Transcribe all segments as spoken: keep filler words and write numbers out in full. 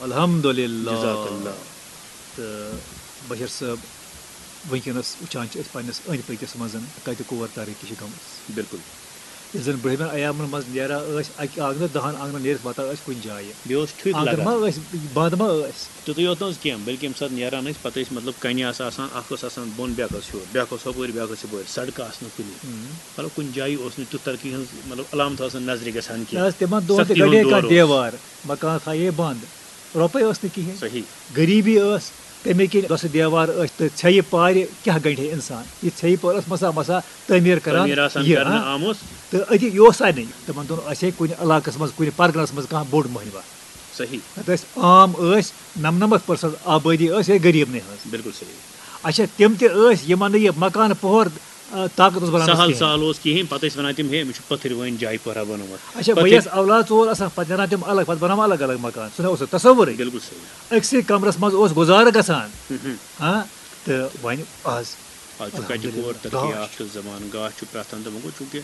الحمدللہ۔ جزاک اللہ۔ تہٕ بشیر صٲب، وٕنکیٚنَس وٕچھان چھِ أسۍ پنٛنِس أنٛدۍ پٔکِس منٛز کَتہِ کور ترقی چھِ گٔمٕژ۔ بِلکُل۔ ییٚلہِ زَن برٛونٛہمٮ۪ن ایامَن منٛز نیران ٲسۍ اَکہِ آنٛگنہٕ دَہَن آنٛگنَن نیٖرِتھ واتان ٲسۍ کُنہِ جایہِ۔ بیٚیہِ اوس ٹھُکۍ آنٛگُن لگان۔ ما ٲسۍ، بنٛد ما ٲسۍ؟ تیُتُے یوت نہٕ حظ کینٛہہ، بلکہِ ییٚمہِ ساتہٕ نیران ٲسۍ، پَتہٕ ٲسۍ مطلب کَنہِ آسہٕ آسان، اَکھ اوس آسان بۄن، بیٛاکھ اوس ہیوٚر، بیٛاکھ اوس ہُپٲرۍ، بیٛاکھ اوس یَپٲرۍ، سڑکہٕ آسہٕ نہٕ کُنہِ۔ مطلب کُنہِ جایہِ اوس نہٕ تیُتھ ترقی ہٕنٛز مطلب علامت آسان نظرِ گژھان نہ کینٛہہ۔ حظ، تِمن دۄہن تہِ سختی ہُنٛد گَڑے دور کانٛہہ اوس۔ دیوار، مکان تھایے بنٛد، رۄپَے ٲس نہٕ کِہیٖنۍ۔ صحیح۔ غریٖبی ٲس، تَمے کِنۍ دۄسہٕ دیوار ٲسۍ تہٕ ژھیٚیہِ پارِ کیٛاہ گَنٛڈِ ہے اِنسان؟ یہِ ژھیٚیہِ پار ٲس مسا مسا تعمیٖر کران۔ تعمیٖر آسان یہِ، کرنہٕ ہاں؟ آمُت۔ تہٕ أتی یہِ اوس سارنٕے۔ تِمن دۄہن آسہِ ہے کُنہِ علاقس منٛز، کُنہِ پرگنس منٛز کانٛہہ بوٚڑ مٔہنِوہ۔ صحیح۔ نتہٕ ٲسۍ عام ٲسۍ، نَمنَمَتھ پٔرسنٹ آبٲدی ٲس یِہے غریٖبنٕے ہٕنٛز۔ بِلکُل صحیح۔ اچھا، تِم تہِ ٲسۍ یِمن نہٕ یہِ مکان پوہر، آ، طاقت اوس بناونس سہل کِہیٖنۍ۔ سہل اوس کِہیٖنۍ، پَتہٕ ٲسۍ وَنان تِم، ہے، أمِس چھُ پٔتھٕرۍ وٲنۍ جایہِ پوہرا بَنومُت۔ اچھا، پَتہٕ بٲیِس اولاد ژور آسان، پتہٕ نیران تِم الگ، پتہٕ بناوان الگ الگ مکان، سُہ نہ اوس نہٕ تصورٕے۔ بِلکُل صحیح۔ أکسٕے کمرس منٛز اوس گُزارٕ گژھان۔ ہاں، تہٕ وۄنۍ آز آز چھُ کَتہِ الحمدللہ۔ کور ترقی گاش۔ یافتہٕ زمانہٕ، گاش چھُ پرٛٮ۪تھ اَندٕ، وۄنۍ گوٚو چوٗنٛکہِ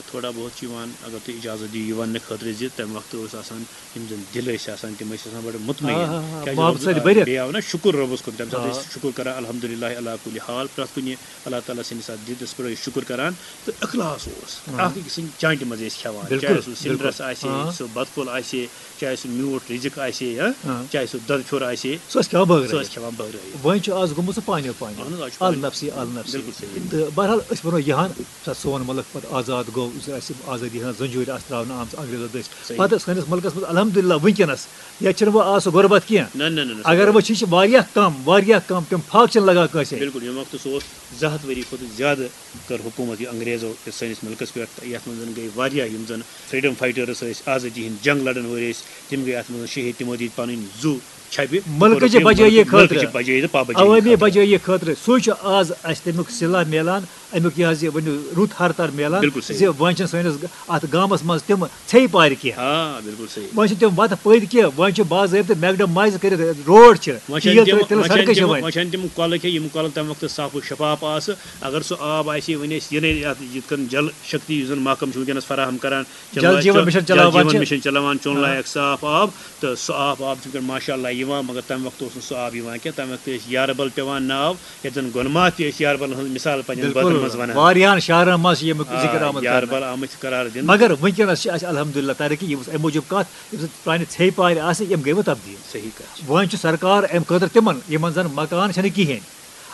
تھوڑا بہت چھُ یِوان، اگر تُہۍ اِجازت دِیِو یہِ وَننہٕ خٲطرٕ زِ تَمہِ وقتہٕ اوس آسان، یِم زَن دِل ٲسۍ آسان، تِم ٲسۍ آسان بَڑٕ مُطمعیٖن۔ آ، آ، آ، کیٛازِ محبت رۄب-، سۭتۍ آ، بٔرِتھ۔ بیٚیہِ آو نہ شُکُر رۄبَس کُن، تَمہِ ساتہٕ آ۔ ٲسۍ شُکُر کَران الحمدللہ علی کُلہِ حال، پرٛٮ۪تھ کُنہِ اللہ تعالیٰ سٕنٛدِس اَتھ دیٖنَس پٮ۪ٹھ ٲسۍ شُکُر کَران تہٕ اِخلاص اوس۔ آ۔ اَکھ أکۍ سٕنٛدِ چانٛٹہِ منٛز ٲسۍ کھٮ۪وان، بِلکُل، چاہے سُہ بِلکُل۔ سِنٛدرَس آسہِ ہے، آ۔ سُہ بَتہٕ پھوٚل آسہِ ہے، چاہے سُہ میوٗٹھ رِزِق آسہِ ہے، ہا؟ آ۔ چاہے سُہ دۄدٕ پھیوٚر آسہِ ہے، سُہ ٲسۍ کھٮ۪وان بٲگرٲوِتھ۔ سُہ ٲسۍ کھٮ۪وان بٲگرٲوِتھ۔ وۄنۍ چھُ آز گوٚمُت سُہ پانیو پانیو۔ اَہَن حظ، آز چھُ پانیو۔ النفسی، النفسی۔ بِلکُل صحیح۔ تہٕ بہرحال أسۍ وَنو یِہَن، ییٚمہِ ساتہٕ سون مُلک پَتہٕ آزاد گوٚو، یُس اَسہِ آزٲدی ہٕنٛز زنجیٖرِ آسہٕ ترٛاونہٕ آمژٕ انگریزو دٔسۍ۔ صحیح۔ پَتہٕ سٲنِس مُلکَس منٛز الحمدللہ وٕنکیٚنَس ییٚتہِ چھُنہٕ وۄنۍ آز سُہ غربت کینٛہہ۔ نہ، نہ، نہ، نہ، سُہ اگر غربت۔ وۄنۍ چھِ، یہِ چھِ واریاہ کَم، واریاہ کَم، تِم فاقہٕ چھِنہٕ لگان کٲنٛسے۔ بِلکُل، ییٚمہِ وقتہٕ سُہ اوس زٕ ہَتھ ؤری کھۄتہٕ زیادٕ کٔر حکوٗمت یہِ انگریزو یَتھ سٲنِس مُلکَس پٮ۪ٹھ، تہٕ یَتھ منٛز گٔے واریاہ یِم زَن freedom fighters ٲسۍ، آزٲدی ہِنٛدۍ جنگ لَڑن وٲلۍ ٲسۍ، تِم گٔے اَتھ منٛز شہیٖد، تِمو دِتۍ پَنٕنۍ زُو چھَپہِ۔ مُلکٕچہِ کوٚرُکھ یہِ بجٲیی مُلکٕچہِ خٲطرٕ۔ بجٲیی تہٕ پابجٲیی عوٲمی خٲطرٕ۔ بجٲیی خٲطرٕ۔ سُے چھُ آز اَسہِ تَمیُک صِلہ میلان، اَمیُک یہِ حظ یہِ ؤنِو رُت ہر تر میلان بِلکُل صحیح۔ زِ وۄنۍ چھِنہٕ سٲنِس اَتھ گامَس منٛز تِم ژھیٚیہِ پارِ کینٛہہ۔ آ، بِلکُل صحیح۔ وۄنۍ چھِ تِم وَتہٕ پٔدۍ کینٛہہ، وۄنۍ چھِ باضٲبطہٕ میکڈمایز کٔرِتھ روڈ چھِ، وۄنۍ چھَنہٕ تیٖل تِم، ترٲوِتھ تِلہٕ وۄنۍ چھَنہٕ سڑکہٕ چھِ تِم، وۄنۍ۔ وۄنۍ چھَنہٕ تِم کۄلہٕ کھیٚے، یِم کۄلہٕ تَمہِ وقتہٕ صاف و شفاف آسہٕ۔ اگر سُہ آب آسہِ ہے، وۄنۍ ٲسۍ یِنَے یَتھ یِتھ کٔنۍ جل شکتی یُس زَن محکمہٕ چھُ وٕنکیٚنَس فراہم کران، چٮ۪نہٕ جل لایق جیٖوَن چھُ، مِشن جل چلاوان جیٖوَن چھِ۔ مِشن چلاوان، چیوٚن آ۔ لایق صاف آب، تہٕ سُہ آب، آب چھُ وٕنکیٚن ماشاء اللہ یِوان، مگر تَمہِ وقتہٕ اوس نہٕ سُہ آب یِوان کینٛہہ۔ تَمہِ وقتہٕ ٲسۍ یاربل پٮ۪وان ناو، یَتھ زَن گۄنماتھ تہِ ٲسۍ یاربلَن ہٕنٛز مثال پنٛنٮ۪ن بٲتَن منٛز وَنان۔ واریاہَن شہرَن منٛز چھِ ییٚمیُک آ، ذِکر آمُت کرنہٕ۔ یاربل آمٕتۍ چھِ قرار دِنہٕ۔ مگر وٕنکیٚنَس چھِ اَسہِ الحمدللہ ترقی، یِم اَسہِ اَمہِ موٗجوٗب کَتھ، یِم زَن پرٛانہِ ژھیٚیہِ پارِ آسہٕ، یِم گٔے وۄنۍ تبدیٖل۔ صحیح کَتھ چھِ۔ وۄنۍ چھُ سرکار اَمہِ خٲطرٕ تِمَن، یِمَن زَن مکان چھَنہٕ کِہیٖنۍ۔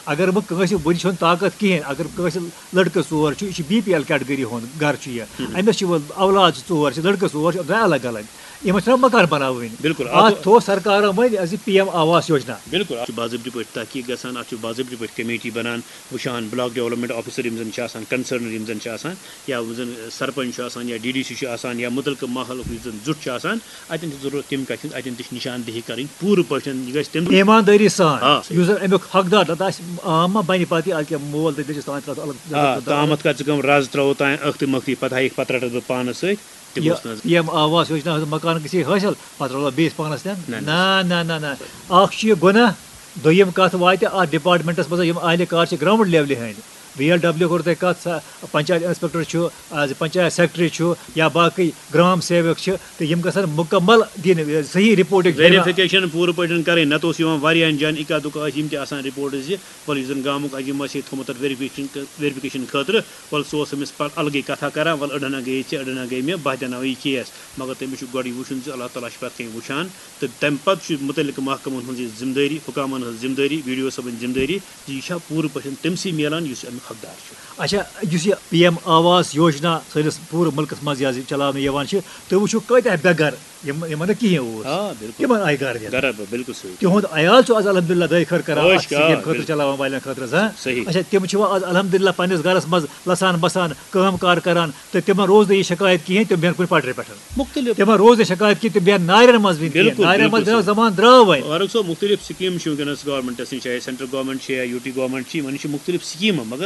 اگر وۄنۍ کٲنٛسہِ وٕنہِ چھُنہٕ طاقت کِہیٖنۍ، اگر کٲنٛسہِ لٔڑکہٕ ژور چھُ، یہِ چھُ بی پی ایل کیٹگری ہُنٛد گَرٕ چھُ یہِ، أمِس چھِ وۄنۍ اولاد چھِ ژور، چھِ لٔڑکہٕ ژور، چھِ درٛاے الگ الگ، یِمَن چھُنہ مکان بَناوٕنۍ۔ بِلکُل، اَتھ اَتھ تھوٚو سرکارَن وۄنۍ یہِ حظ یہِ پی ایم آواس یوجنا۔ بِلکُل، اَتھ چھُ باضٲبطہٕ پٲٹھۍ تحقیٖق گژھان، اَتھ چھُ باضٲبطہٕ پٲٹھۍ کمیٹی بَنان، وٕچھان بلاک ڈیولپمنٹ آفیسر یِم زَن چھِ آسان، کنسرنڈ یِم زَن چھِ آسان، یا یِم زَن سرپنچ چھُ آسان، یا ڈی ڈی سی چھُ آسان، یا مُتعلقہٕ ماحولُک یُس زَن زیُٹھ چھُ آسان، اَتٮ۪ن چھِ ضروٗرت تَمہِ کَتھِ ہٕنٛز، اَتٮ۪ن تہِ چھِ نِشاندہی کَرٕنۍ پوٗرٕ پٲٹھۍ، یہِ گژھِ تَمہِ ایٖماندٲری سان، آ، صحیح۔ یُس زَن اَمیُک حقدار، نَتہٕ آسہِ عام ما بَنہِ پَتہٕ یہِ، اَدٕ کیٛاہ مول تہٕ دٔچھِس تام ترٛاوَتھ الگ آ، تامَتھ کَتھ ژٕ کَم رَز ترٛاوو تام ٲختٕے مٲختٕے، پَتہٕ ہایِکھ پَتہٕ رَٹَس بہٕ پانَس سۭتۍ، تِم یہِ اوس نہٕ حظ۔ پی ایم آواس یوجنا ہٕنٛز مکان گژھِ ہے حٲصِل، پَتہٕ رَلو بیٚیِس پانَس تہِ۔ نہ، نہ۔ نہ، نہ، نہ، نہ۔ اَکھ چھُ یہِ گۄناہ، دوٚیِم کَتھ واتہِ اَتھ ڈپارٹمنٹَس منٛز یِم اہلِ کار چھِ گراؤنڈ لیولہِ ہٕنٛدۍ۔ وی ایل ڈبلیو کوٚر تۄہہِ کَتھ، سا-، پنچایت انسپیکٹر چھُ، آز پنچایت سیکرٹری چھُ یا باقٕے گرام سیوک چھِ، تہٕ یِم گژھن مُکمل دِنۍ صحیح رپورٹٕکۍ۔ ویریفکیشن پوٗرٕ پٲٹھۍ کرٕنۍ، نتہٕ اوس یِوان واریاہن جاین اِکا دُکا ٲسۍ یِم تہِ آسان رپورٹس زِ وَلہٕ یُس زَن گامُک عظیٖم آسہِ ہے تھوٚمُت تَتھ ویریفکیشن، ویریفکیشن خٲطرٕ، وَلہٕ سُہ اوس أمِس پَتہٕ الگٕے کَتھا کران، وَلہٕ أڑہَن گٔیے ژےٚ، أڑہَن گٔیے مےٚ، بہٕ ہا دیٛاوناوٕ یہِ کیس۔ مگر تٔمِس چھُ گۄڈٕ یہِ وٕچھُن زِ اللہ تعالیٰ چھُ پَتہٕ کَنہِ وٕچھان، تہٕ تَمہِ پَتہٕ چھُ مُتعلِقہٕ محکمَن ہٕنٛز یہِ ذِمہٕ دٲری، حُکامَن ہٕنٛز ذِمہٕ دٲری، بی ڈی او صٲبٕنۍ ذِمہٕ دٲری زِ یہِ چھا پوٗرٕ پٲٹھۍ تٔمسٕے میلان یُس اَمیُک حقدار چھُ۔ اچھا، یُس یہِ پی ایم آواس یوجنا سٲنِس پوٗرٕ مُلکَس منٛز یہِ حظ یہِ چلاونہٕ یِوان چھِ، تُہۍ وٕچھِو کۭتیٛاہ بے گَر یِم، یِمَن نہٕ کِہیٖنۍ اوس، آ، بِلکُل۔ تِمَن آیہِ گَرٕ دِنہٕ۔ گَرٕ بہٕ، بِلکُل صحیح۔ تِہُنٛد عیال چھُ آز الحمدللہ دۄیہِ خٲر کران عٲش اَتھ کیٛاہ، سِکیٖم خٲطرٕ بِلکُل۔ چلاوان والٮ۪ن خٲطرٕ حظ، ہاں؟ صحیح۔ اچھا، تِم چھِ وۄنۍ آز الحمدللہ پنٛنِس گَرَس منٛز لَسان بَسان، کٲم کار کران، تہٕ تِمَن روز نہٕ یہِ شکایت کِہیٖنۍ، تِم بیٚہن کُنہِ پٹرِ پٮ۪ٹھ۔ مُختٔلِف۔ تِمَن روز نہٕ شکایت کِہیٖنۍ، تِم بیٚہن نارٮ۪ن منٛز وٕنہِ کِہیٖنۍ۔ بِلکُل، نارٮ۪ن بِلکُل منٛز بیٚہنَس صحیح۔ زمان درٛاو وۄنۍ۔ فاروق صٲب، مُختٔلِف سکیٖم چھِ وٕنکیٚنَس گورمنٹَس نِش، چاہے سینٹرل گورمنٹ چھِ یا یوٗ ٹی گورمنٹ چھِ، یِمَن نِش چھِ مُختٔلِف سکیٖمہٕ، مگر